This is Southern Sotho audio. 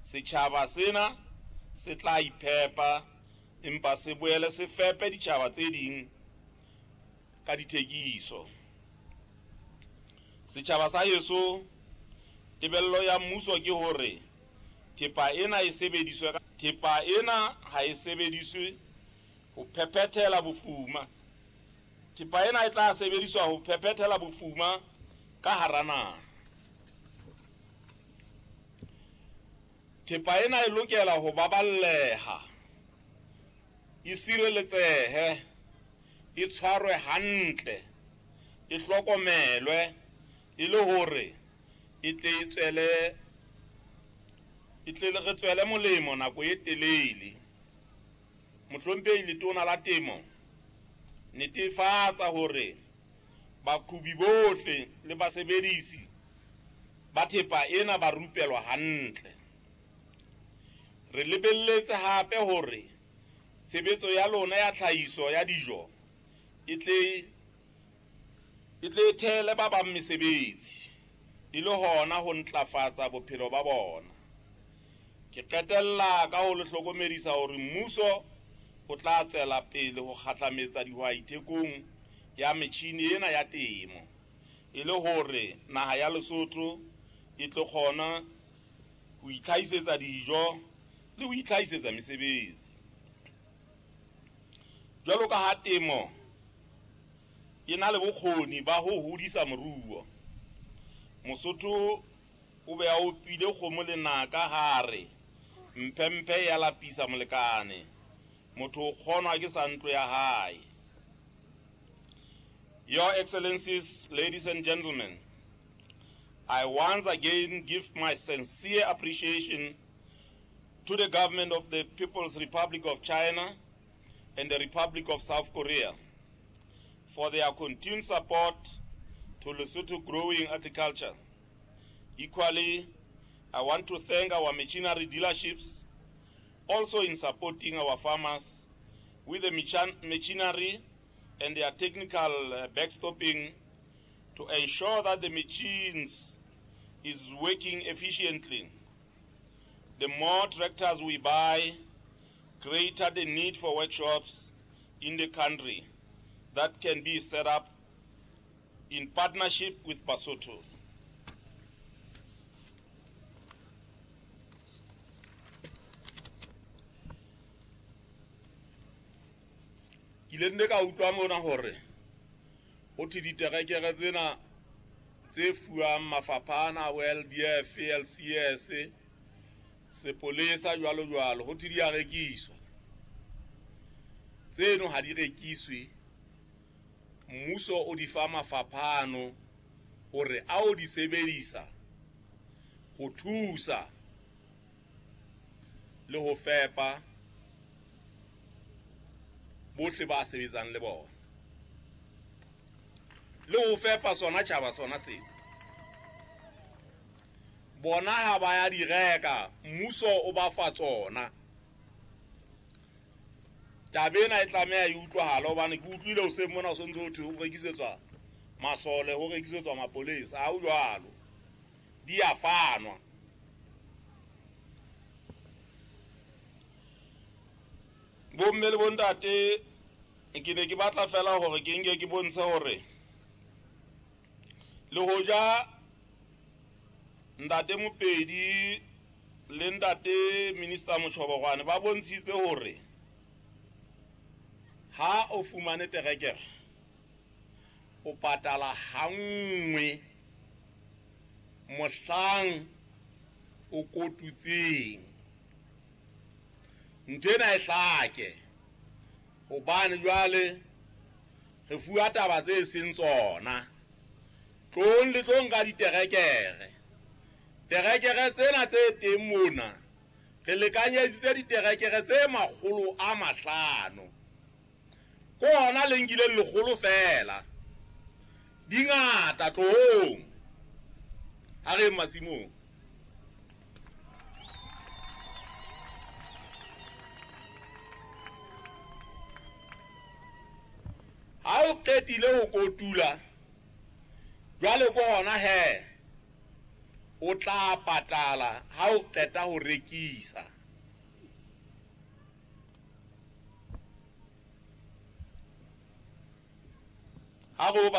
Setjhaba sena se tla iphepa empa se boele se fepe ditjhaba tse ding ka dithekiso. Setjhaba sa heso, tebello ya mmuso ke hore thepa ena e sebediswe thepa ena ha e sebediswe ho phephethela bofuma. Thepa ena e tla sebediswa ho phephethela bofuma ka hara naha. Thepa ena e lokela ho baballeha, e sireletsehe, e tshwarwe hantle, e hlokomelwe e le hore e tle e tswele e tle re tswele molemo nako e telele. Mohlomphehi Letona la Temo, netefatsa hore baqhobi bohle le basebedisi ba thepa ena ba rupelwa hantle. Re lebelletse hape hore tshebetso ya lona ya tlhahiso ya dijo e tle e thele ba bang mesebetsi e le hona ho ntlafatsa bophelo ba bona. Ke qetella ka ho le hlokomedisa hore mmuso o tla tswela pele ho kgahlametsa dihwai thekong ya metjhini ena ya temo e le hore naha ya Lesotho e tlo kgona ho itlhahisetsa dijo le ho itlhahisetsa mesebetsi. Jwalo ka ha temo e na le bokgoni ba ho hodisa moruo, Mosotho o be a opile kgomo lenaka ha re mphemphe ya lapisa molekane, motho o kgonwa ke sa ntlo ya hae. Your Excellencies, ladies and gentlemen, I once again give my sincere appreciation to the government of the People's Republic of China and the Republic of South Korea for their continued support to Lesotho growing agriculture. Equally, I want to thank our machinery dealerships also in supporting our farmers with the machinery and their technical backstopping to ensure that the machines is working efficiently. The more tractors we buy, greater the need for workshops in the country that can be set up in partnership with Basotho. Ke ile nne ka utlwa mona hore ho thwe diterekere tsena tse fuwang mafapha ana bo LDF, LCS, sepolesa jwalo jwalo, ho thwe di a rekiswa. Tseno ha di rekiswe, mmuso o di fa mafapha ano hore a o di sebedisa ho thusa le ho fepa bohle ba sebetsang le bona, le ho fepa sona tjhaba sona sena. Bona ha ba ya di reka, mmuso o ba fa tsona. Taba ena e tlameha e utlwahale hobane ke utlwile hoseng mona ho sontso ho thwe ho rekisetswa masole, ho rekisetswa mapolesa. Ha ho jwalo, di a fanwa. Bomme le bontate, ke ne ke batla fela hore ke nke ke bontshe hore le hoja ntate Mopedi le ntate Minister Mochobokwane ba bontshitse hore ha o fumane terekere o patala hanngwe mohlang o kotutseng. Ntho ena e hlake hobane jwale re fuwa taba tse seng tsona. Tlong le tlo nka diterekere. Terekere tsena tse teng mona re lekanyeditse diterekere tse 500. Ko hona le nkileng 100 feela. Di ngata, tlohong. Ha re masimong. Ha o qetile ho kotula, jwale ko hona he O tla patala ha o qeta ho rekisa. Ha re o batla.